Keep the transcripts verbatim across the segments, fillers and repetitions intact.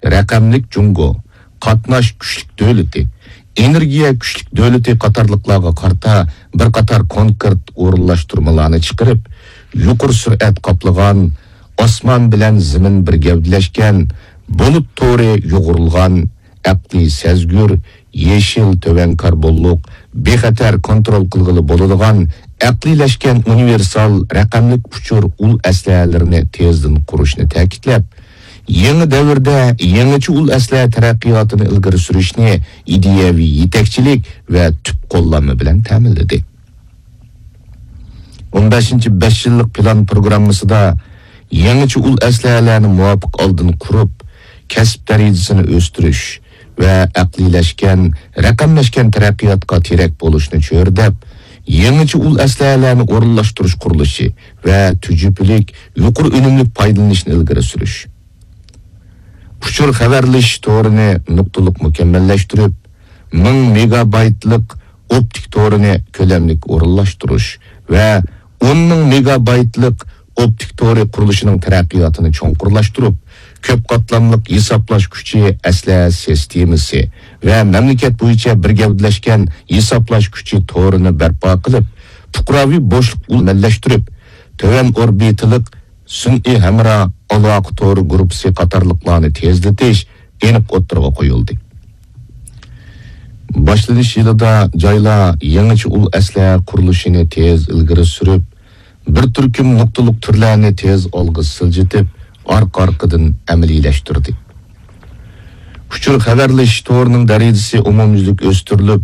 رەقەملىك جۇڭگو، قاتناش كۈچلۈك دۆلىتى، ئېنېرگىيە كۈچلۈك دۆلىتى قاتارلىقلارغا قارىتا بىر قاتار كونكرېت ئورۇنلاشتۇرمىلارنى چىقىرىپ، يۇقىرى سۈرئەت قاپلىغان، ئاسمان بىلەن زېمىن بىر گەۋدىلەشكەن، بۇلۇت تورى يۇغۇرۇلغان، ئەقلىي سەزگۈر، يېشىل، تۆۋەن كاربونلۇق، بىخەتەر، كونترول قىلغىلى بولىدىغان، ئەقلىيلەشكەن ئۇنىۋېرسال رەقەملىك ئۇچۇر ئۇل ئەسلىھەلىرىنى تېزدىن قۇرۇشنى تەكىتلەپ، يېڭى دەۋردە يېڭىچە ئۇل ئەسلىھە تەرەققىياتىنى ئىلگىرى سۈرۈشنى ئىدىيەۋى يېتەكچىلىك ۋە تۈپ قوللانما بىلەن تەمىنلىدى. ئون بەشىنچى بەش يىللىق پىلان پروگراممىسىدا يېڭىچە ئۇل ئەسلىھەلەرنى مۇۋاپىق ئالدىن قۇرۇپ، كەسىپ دەرىجىسىنى ئۆستۈرۈش ۋە ئەقلىيلەشكەن، رەقەملەشكەن تەرەققىياتقا تىرەك بولۇشنى چۆرىدەپ، يېڭىچە ئۇل ئەسلىھەلەرنى ئورۇنلاشتۇرۇش قۇرۇلۇشى ۋە تۈجۈپىلىك، يۇقىرى ئۈنۈملۈك پايدىلىنىشنى ئىلگىرى سۈرۈش. ئۇچۇر خەۋەرلىشىش تورىنى نۇقتىلىق مۇكەممەللەشتۈرۈپ، مىڭ مېگابايتلىق ئوپتىك تورىنى كۆلەملىك ئورۇنلاشتۇرۇش ۋە ئون مىڭ مېگابايتلىق ئوپتىك تورى قۇرۇلۇشىنىڭ تەرەققىياتىنى چوڭقۇرلاشتۇرۇپ، كۆپ قاتلاملىق ھېسابلاش كۈچى ئەسلىھە سىستېمىسى ۋە مەملىكەت بويىچە بىر گەۋدىلەشكەن ھېسابلاش كۈچى تورىنى بەرپا قىلىپ، پۇقراۋى بوشلۇق ئۈلمەللەشتۈرۈپ، تۆۋەن ئوربىتىلىق سۈنئىي ھەمراھ ئالاقە تورى گۇرۇپپىسى قاتارلىقلارنى تېزلىتىش ئېنىق ئوتتۇرىغا قويۇلدى. باشلىنىش يىلىدا جايلار يېڭىچە ئۇل ئەسلىھە قۇرۇلۇشىنى تېز ئىلگىرى سۈرۈپ، بىر تۈركۈم نۇقتىلىق تۈرلەرنى تېز ئالغا سىلجىتىپ، ئارقا-ئارقىدىن ئەمەلىيلەشتۈردى. ئۇچۇر خەۋەرلىشىش تورىنىڭ دەرىجىسى ئومۇميۈزلۈك ئۆستۈرۈلۈپ،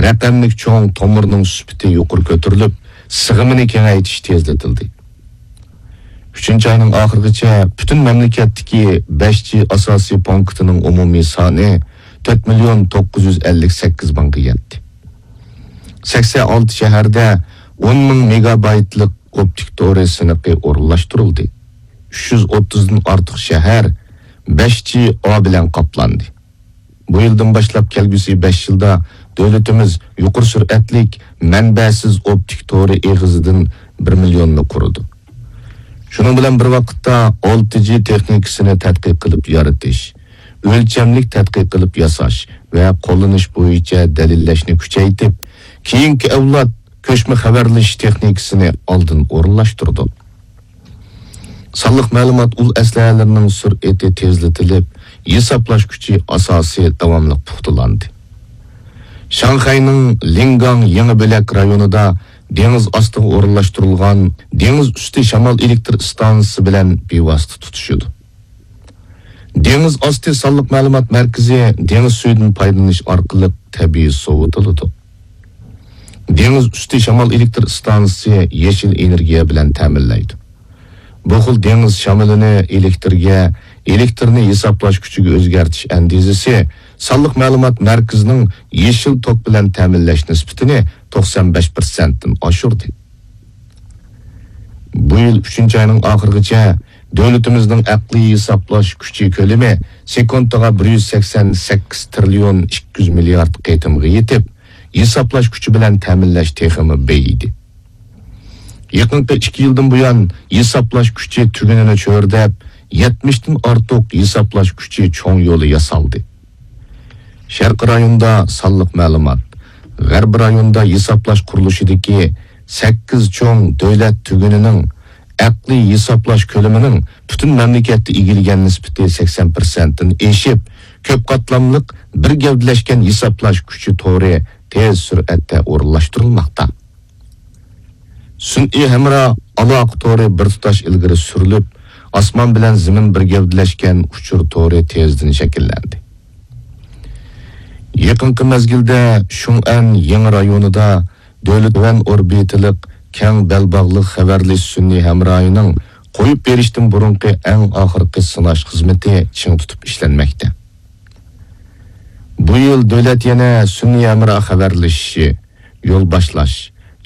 رەقەملىك چوڭ تومۇرنىڭ سۈپىتى يۇقىرى كۆتۈرۈلۈپ، سىغىمىنى كېڭەيتىش تېزلىتىلدى. ئۈچىنچى ئاينىڭ ئاخىرىغىچە پۈتۈن مەملىكەتتىكى بەش جى ئاساسىي پونكىتىنىڭ ئومۇمىي سانى تۆت مىليون توققۇز يۈز ئەللىك سەككىز مىڭغا يەتتى. سەكسەن ئالتە شەھەردە ئون مىڭ مېگابايتلىق ئوپتىك تورى سىنىقى ئورۇنلاشتۇرۇلدى. ئۈچ يۈز ئوتتۇزدىن ئارتۇق شەھەر بەش جى ئا بىلەن قاپلاندى. بۇ يىلدىن باشلاپ كەلگۈسى بەش يىلدا دۆلىتىمىز يۇقىرى سۈرئەتلىك مەنبەسىز ئوپتىك تورى ئېغىزىدىن بىر مىليوننى قۇرىدۇ. شۇنىڭ بىلەن بىر ۋاقىتتا، ئالتە جى تېخنىكىسىنى تەتقىق قىلىپ يارىتىش، ئۆلچەملىك تەتقىق قىلىپ ياساش ۋە قوللىنىش بويىچە دەلىللەشنى كۈچەيتىپ، كېيىنكى ئەۋلاد كۆچمە خەۋەرلىشىش تېخنىكىسىنى ئالدىن ئورۇنلاشتۇردۇق. سانلىق مەلۇمات ئۇل ئەسلىھەلىرىنىڭ سۈرئىتى تېزلىتىلىپ، ھېسابلاش كۈچى ئاساسى داۋاملىق پۇختىلاندى. شاڭخەينىڭ لىڭگاڭ يېڭى بۆلەك رايونىدا دېڭىز ئاستىغا ئورۇنلاشتۇرۇلغان دېڭىز ئۈستى شامال ئېلېكتر ئىستانسىسى بىلەن بىۋاسىتە تۇتىشىدۇ. دېڭىز ئاستى سانلىق مەلۇمات مەركىزى دېڭىز سۈيىدىن پايدىلىنىش ئارقىلىق تەبىئىي سوۋۇتۇلىدۇ. دېڭىز ئۈستى شامال ئېلېكتر ئىستانسىسى يېشىل ئېنېرگىيە بىلەن تەمىنلەيدۇ. بۇ خىل دېڭىز شامىلىنى ئېلېكتىرگە، ئېلېكتىرنى ھېسابلاش كۈچىگە ئۆزگەرتىش ئەندىزىسى سانلىق مەلۇمات مەركىزىنىڭ يېشىل توك بىلەن تەمىنلەش نىسبىتىنى توقسان بەش پىرسەنتتىن ئاشۇردى. بۇ يىل ئۈچىنچى ئاينىڭ ئاخىرىغىچە دۆلىتىمىزنىڭ ئەقلىي ھېسابلاش كۈچى كۆلىمى سېكۇنتىغا بىر يۈز سەكسەن سەككىز تىرىليون ئىككى يۈز مىليارد قېتىمغا يېتىپ، ھېسابلاش كۈچى بىلەن تەمىنلەش تېخىمۇ بېيىدى. يېقىنقى ئىككى يىلدىن بۇيان، ھېسابلاش كۈچى تۈگۈنىنى چۆرىدەپ، يەتمىشتىن ئارتۇق ھېسابلاش كۈچى چوڭ يولى ياسالدى. شەرقىي رايوندا سانلىق مەلۇمات، غەربىي رايوندا ھېسابلاش قۇرۇلۇشىدىكى سەككىز چوڭ دۆلەت تۈگۈنىنىڭ ئەقلىي ھېسابلاش كۆلىمىنىڭ پۈتۈن مەملىكەتتە ئىگىلىگەن نىسبىتى سەكسەن پىرسەنتتىن ئېشىپ، كۆپ قاتلاملىق بىر گەۋدىلەشكەن ھېسابلاش كۈچى تورى تېز سۈرئەتتە ئورۇنلاشتۇرۇلماقتا. سۈنئىي ھەمراھ ئالاقە تورى بىر تۇتاش ئىلگىرى سۈرۈلۈپ، ئاسمان بىلەن زېمىن بىر گەۋدىلەشكەن ئۇچۇر تورى تېزدىن شەكىللەندى. يېقىنقى مەزگىلدە شۇڭئەن يېڭى رايونىدا دۆلەت تۆۋەن ئوربىتىلىق كەڭ بەلباغلىق خەۋەرلىشىش سۈنئىي ھەمراھىنىڭ قويۇپ بېرىشتىن بۇرۇنقى ئەڭ ئاخىرقى سىناش خىزمىتى چىڭ تۇتۇپ ئىشلەنمەكتە. بۇ يىل دۆلەت يەنە سۈنئىي ھەمراھ خەۋەرلىشىشى، يول باشلاش،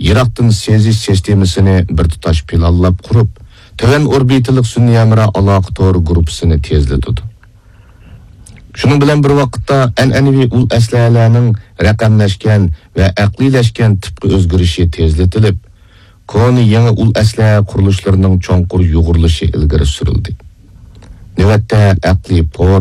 يىراقتىن سېزىش سىستېمىسىنى بىر تۇتاش پىلانلاپ قۇرۇپ، تۆۋەن ئوربىتىلىق سۈنئىي ھەمراھ ئالاقە تورى گۇرۇپپىسىنى تېزلىتىدۇ. شۇنىڭ بىلەن بىر ۋاقىتتا، ئەنئەنىۋى ئۇل ئەسلىھەلەرنىڭ رەقەملەشكەن ۋە ئەقلىيلەشكەن تىپقا ئۆزگىرىشى تېزلىتىلىپ، كونا يېڭى ئۇل ئەسلىھە قۇرۇلۇشلىرىنىڭ چوڭقۇر يۇغۇرۇلۇشى ئىلگىرى سۈرۈلدى. نۆۋەتتە، ئەقلىي پور،